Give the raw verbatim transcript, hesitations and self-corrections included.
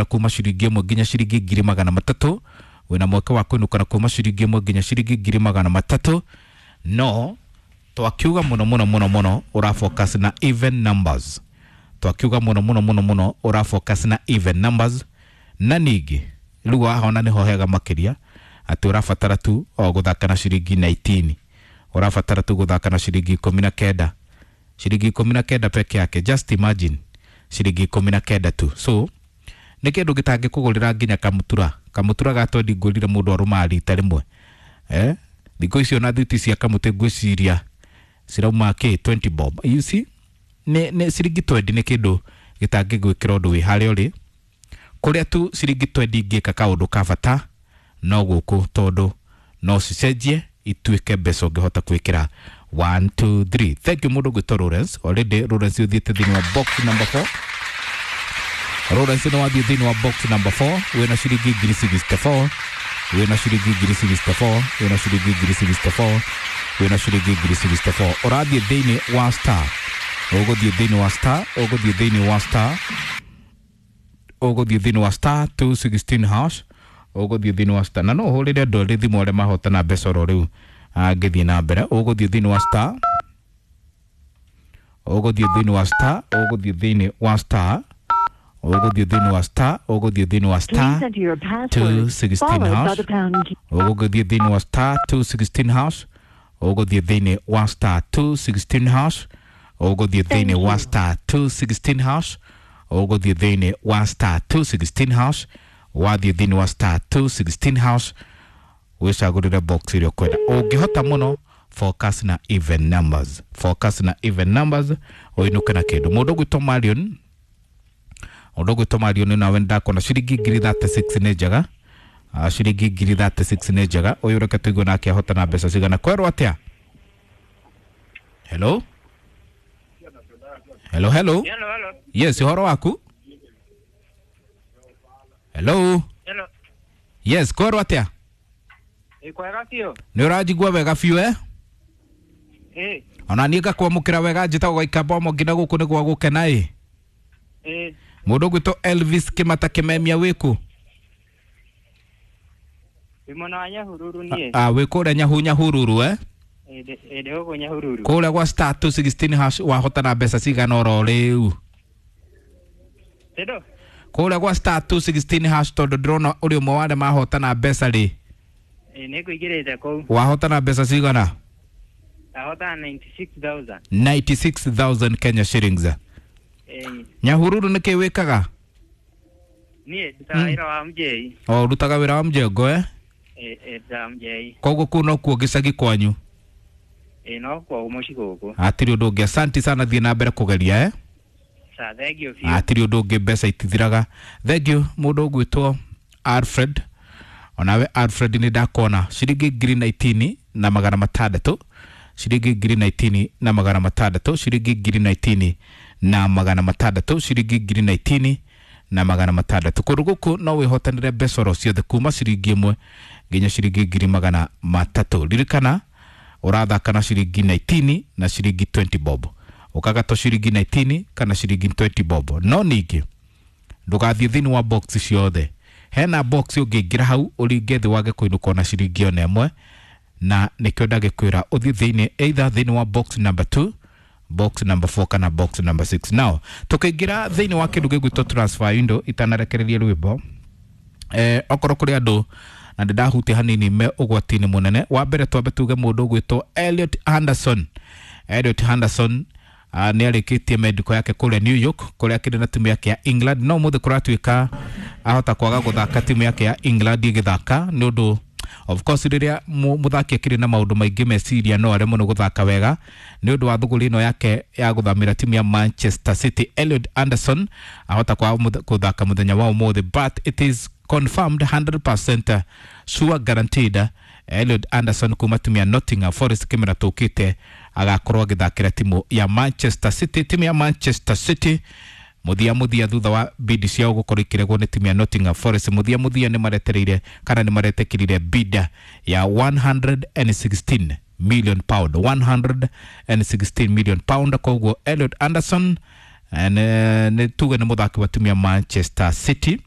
Kuma ciringi ĩmwe nginya ciringi ngiri magana matatũ. Wĩna mweke wa kũinũka na kuma ciringi ĩmwe nginya ciringi ngiri magana matatũ, no twakiuga mũno mũno mũno mũno ũra focus na even numbers. Twakiuga mũno mũno mũno mũno ũra focus na even numbers. Na ningĩ rĩu wahona nĩho hega makĩria atĩ ũrabatara tu o gũthaka na ciringi ikũmi na kenda, ũrabatara tu gũthaka na ciringi ikũmi na kenda, ciringi ikũmi na kenda peke yake. Just imagine, ciringi ikũmi na kenda tu. So nĩ kĩndũ gĩtangĩkũgũrĩra nginya kamutura. Kamutura ga twendi ngũrire mũndũ arũmaga rita rĩmwe. Eh, thikũ icio na thuti cia kamũtĩ ngwĩciria cirauma kĩ twenty bob. You see, nĩ nĩ ciringi twenty nĩ kĩndũ gĩtangĩgwĩkĩra ũndũ wĩ harĩa ũrĩ. Kũrĩa tu ciringi twenty ingĩka kaũndũ ka bata no gũkũ, tondũ no cicenjie ituĩke mbeca ũngĩhota gwĩkĩra one two three. Thank you, mũndũ gwĩtwo Lawrence. Already Lawrence ũthiĩte thĩinĩ wa box number four. Lawrence nĩ wathiĩ thĩinĩ wa box number four, wĩna ciringi ngiri sixty-four, wĩna ciringi ngiri sixty-four, wĩna ciringi ngiri sixty-four, wĩna ciringi ngiri sixty-four. Ũrathiĩ thĩinĩ wa star, ũgũthiĩ thĩinĩ wa star, ũgũthiĩ thĩinĩ wa star, ũgũthiĩ thĩinĩ wa star two sixteen hash, ũgũthiĩ thĩinĩ wa star. Na no ũhũrĩre andũ erĩ thimũ arĩa mahotana mbeca oro rĩu. Angĩthiĩ na mbere, ũgũthiĩ thĩinĩ wa star, ũgũthiĩ thĩinĩ wa star, ũgũthiĩ thĩinĩ wa star, ũgũthiĩ thĩinĩ wa star, ũgũthiĩ thĩinĩ wa star Please enter your password, two sixteen followed by hash. the pound key. Ũgũthiĩ thĩinĩ wa star two sixteen hash, ũgũthiĩ thĩinĩ wa star two sixteen hash, ũgũthiĩ thĩinĩ Thank wa you. star two sixteen hash, ũgũthiĩ thĩinĩ wa star two sixteen hash. Wathiĩ thĩinĩ wa star two sixteen hash, wĩcagũrĩre box ĩrĩa ũkwenda. Ũngĩhota mũno, focus na even numbers, focus na even numbers, ũinũke na kĩndũ. Mũndũ ũgwĩtwo Marion, mũndũ ũgwĩtwo Marion, nawe ndakona ciringi ngiri thirty-six nĩ njega. Ah, ciringi ngiri thirty-six nĩ njega. Ũyũ reke tũigue nake ahota na mbeca cigana. Kwerwo atĩa? Hello, hello, hello. Hello, hello. Yes, ũhoro waku? Hello. Hello. Yes, kwerwo atĩa? Ĩ kwega biũ. Nĩ ũranjigua wega biũ, eh? Ĩ. Ona niĩ ngakwamũkĩra wega. Njĩtagwo Gaikamba nginya gũkũ nĩ gwa gũkena ĩ. Ĩ. Mũndũ ũgwĩtwo Elvis Kĩmata Kĩmemia, wĩkũ? Wĩ mwena wa Nyahururu niĩ. Ah, wĩ kũrĩa nyahu Nyahururu, eh? Ĩ ndĩ ĩ ndĩ gũkũ Nyahururu. Kũrĩa gwa star two sixteen hash wahotana mbeca cigana oro rĩu? Tendo. Kũrĩa gwa star two sixteen hash, tondũ ndĩrona ũrĩ ũmwe wa arĩa mahotana mbeca rĩ. Ĩ nĩ ngũingĩrĩte kũu. Wahotana mbeca cigana? Ndahotana ninety-six thousand. ninety-six thousand Kenya shillings. Ĩ. Nyahururu nĩ kĩ wĩkaga? Niĩ ndutaga wĩra wa mjei. O ũrutaga wĩra wa mjengo, eh? Ĩ ĩ ndutaga mjei. Koguo kũu nokuo gĩcagi kwanyu? Ĩ no kwa mũciĩ gũkũ. Hatirĩ ũndũ ũngĩ. Asanti sana, thiĩ na mbere kũgeria, eh? Sa thank you biũ. Hatirĩ ũndũ ũngĩ, mbeca itithiraga. Thank you. Mũndũ ũgwĩtwo Alfred, onawe Alfred nĩ ndakona ciringi ngiri nineteen na magana matandatũ, ciringi ngiri nineteen na magana matandatũ, ciringi ngiri nineteen na magana matandatũ, ciringi ngiri nineteen na magana matandatũ. Kũndũ gũkũ no wĩhotanĩre mbeca oro ciothe kuma ciringi ĩmwe nginya ciringi ngiri magana matatũ. Ririkana ũrathaka na ciringi nineteen na ciringi twenty bob, ũkagatwo ciringi nineteen kana ciringi twenty bob. No ningĩ ndũgathiĩ thĩinĩ wa box ciothe. Hena box ũngĩingĩra hau ũringe thĩ wage kũinũka ona ciringi ona ĩmwe, na nĩkĩo ndagĩkwĩra ũthiĩ thĩinĩ either thĩinĩ wa box number two, box number four kana box number six. Now tũkĩingĩra thĩinĩ wa kĩndũ gĩgwĩtwo transfer window, itanarekereria rwĩmbo, eh, okorwo kũrĩ andũ na ndĩ ndahutia hanini me ũgwati-inĩ mũnene. Wa mbere twambe tuge mũndũ ũgwĩtwo Elliot Anderson. Elliot Anderson uh, nĩ arĩkĩtie medical yake kũrĩa New York, kũrĩa akĩrĩ na timu yake ya England, no mũthĩ kũratuĩka ahota kwaga gũthaka timu yake ya England ĩgĩthaka, nĩ ũndũ of course rĩrĩa mu- mũthaki akĩrĩ na maũndũ maingĩ meciria no aremwo nĩ gũthaka wega nĩ ũndũ wa thũgũrĩ ĩno yake ya gũthamĩra timu ya Manchester City. Elliot Anderson ahota kwaga mũth- gũthaka mũthenya wa ũmũthĩ, but it is confirmed, one hundred percent sure, guaranteed, Elliot Anderson kuma timu ya Nottingham Forest kĩmera tũkĩte agakorwo agĩthakĩra timu ya Manchester City. Timu ya Manchester City muthia muthia, thutha wa bid ciao gukorwo ikiregwo nĩ timu ya Nottingham Forest, muthia muthia nĩ maretereire kana nĩ maretekirire bid ya one hundred sixteen million pound, one hundred sixteen million pound. Koguo Elliot Anderson eh, nĩ nĩ tuge nĩ mũthaki wa timu ya Manchester City.